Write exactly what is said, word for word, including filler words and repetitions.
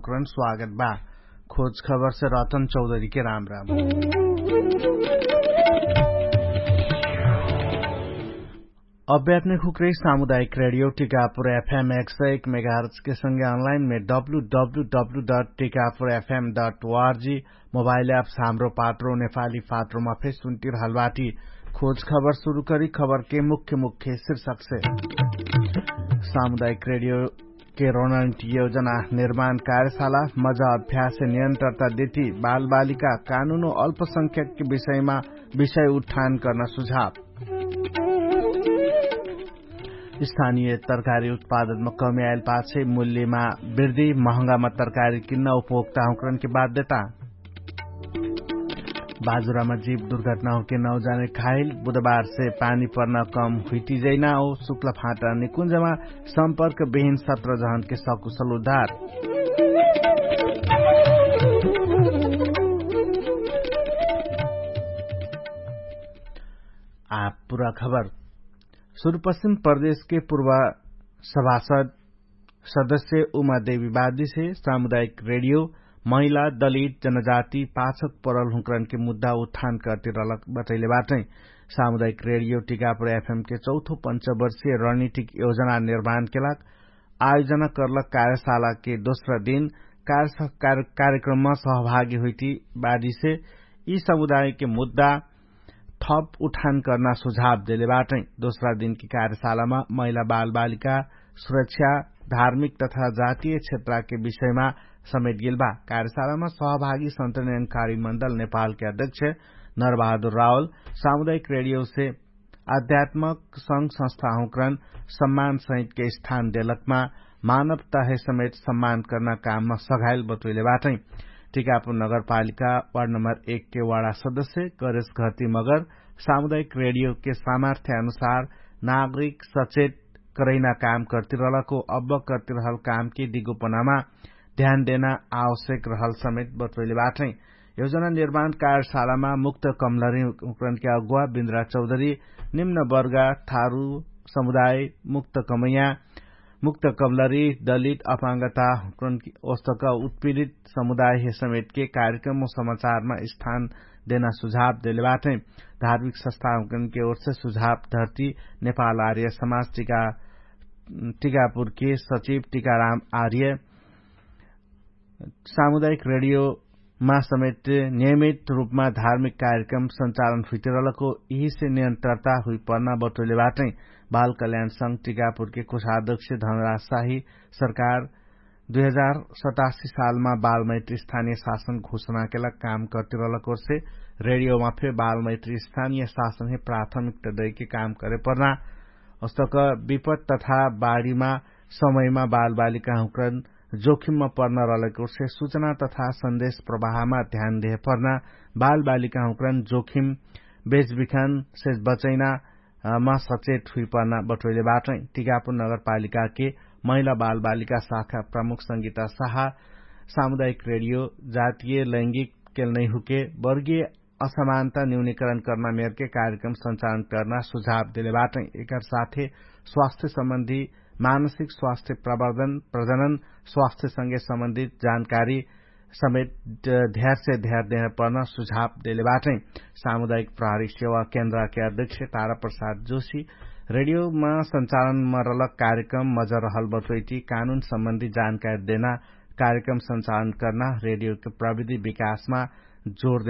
स्वागत बा। खोज खबरसे रतन चौधरीके राम राम। अभ्यात्मिक हुक्रे सामुदायिक रेडियो टिकापुर एफएम एक सय एक मेगाहर्चके संगे अनलाइनमे W W W dot Tikapur FM dot ORG mobile apps Hamro Patro नेपाली पात्रोमा फेसुन्टिर हलबाटी। खोज खबर सुरु करी खबरके मुख्य मुख्य शिर्षकसे। सामुदायिक रेडियो के रणनीति योजना निर्माण कार्यशाला मजा अभ्यास नियन्त्रता देती बालबालिका कानुनो अल्पसंख्यक विषयमा विषय उत्थान कर्न सुझाव। स्थानीय तरकारी उत्पादनमा कमी आइल पाछे मूल्यमा वृद्धि महँगामा तरकारी किन्न उपभोक्ताहुँकरनके बाध्यता। बाजुरामा जीव दुर्घटना होके नौजाने खाइल बुधबारसे पानी पर्ना कम हुइटिजैना हो शुक्ल फाटा निकुञ्जमा सम्पर्क बिहिन सत्र जहनके सकुशल उद्धार। आ पुरा खबर। सुरुपश्चिम प्रदेशके पुर्वा सभासद सदस्य उमा देवी बादिसे सामुदायिक रेडियो महिला दलित जनजाति पाछक परल हुँकरनके मुद्दा उत्थान कर्तिरलक बटैले बाटै। सामुदायिक रेडियो टिकापुर एफएमके चौथो पञ्चवर्षीय रणनीतिक योजना निर्माणके लाग आयोजना कर्लक कार्यशालाके दोस्रा दिन कार्यक्रममा सहभागी हुइटी बादिसे यि समुदायके मुद्दा थप उठान कर्ना सुझाव देले बाटै। दोस्रा दिनके कार्यशालामा महिला बालबालिका सुरक्षा धार्मिक तथा जातीय क्षेत्रके विषयमा समेट गेल बा। कार्यशालामा सहभागी सन्तनयनकारी मण्डल नेपालके अध्यक्ष नरबहादुर रावल सामुदायिक रेडियोसे आध्यात्मक संघ संस्थाहुँकरन सम्मान सहितके स्थान देलकमा मानव तहे समेत सम्मान कर्ना काममा सघाइल बटोइले बाटै। टिकापुर नगरपालिका वार्ड नम्बर एकके वाडा सदस्य करेश घरती मगर सामुदायिक रेडियोके सामर्थ्य अनुसार नागरिक सचेत करैना काम कर्तिरहलको अब्ब कर्तिरहल कामके दिगोपनामा ध्यान देना आवश्यक रहल समेत बटोइले बाटै। योजना निर्माण कार्यशालामा मुक्त कमलरी हुँकरनके अगुवा बिन्द्रा चौधरी निम्न वर्गा थारु समुदाय मुक्त कमैया मुक्त कमलरी दलित अपाङ्गता हुँकरनके ओस्तक उत्पीडित समुदाय हे समेटके कार्यक्रम समाचारमा स्थान देना सुझाव देले बाटै। धार्मिक संस्था हुँकरनके ओर्से सुझाव धर्ती नेपाल आर्य समाज टिकापुरके सचिव टिकाराम आर्य सामुदायिक रेडियोमा समेत नियमित रूपमा धार्मिक कार्यक्रम सञ्चालन हुइतिरलको यिहिसे नियन्त्रता हुइपर्ना बटोइले बाटै। बाल कल्याण संघ टिकापुरके कोषाध्यक्ष धनराज शाही सरकार दुई हजार सतासी सालमा बालमैत्री स्थानीय शासन घोषणाकेला काम कर्तिरलकोर्से रेडियोमा फे बालमैत्री स्थानीय शासन हे प्राथमिकता दैके काम करेपर्ना अस्तक विपत तथा बाढीमा समयमा बालबालिकाहुँकरन जोखिममा पर्ना रहलेकोर्से सुचना तथा सन्देश प्रवाहमा ध्यान देहे पर्ना बालबालिकाहुँकरन जोखिम बेचबिखानसे बचैना मा सचेत हुइपर्ना बटोइले बाटै। टिकापुर नगरपालिकाके महिला बालबालिका शाखा प्रमुख संगीता शाह सामुदायिक रेडियो जातीय लैंगिक केल नैहुके वर्गीय असमानता न्यूनीकरण कर्ना मेरके कार्यक्रम सञ्चालन कर्ना सुझाव देले बाटै। एकर साथे स्वास्थ्य सम्बन्धी मानसिक स्वास्थ्य प्रवर्धन प्रजनन स्वास्थ्य संगे सम्बन्धित जानकारी समेत ध्यारसे ध्यार देहपर्न सुझाव देले बाटै। सामुदायिक प्रहरी सेवा केन्द्रके अध्यक्ष तारा प्रसाद जोशी रेडियोमा सञ्चालनमा रहलक कार्यक्रम मजरहल बटोइटी कानुन सम्बन्धी जानकारी देना कार्यक्रम सञ्चालन कर्ना रेडियोके प्रविधि विकासमा जोर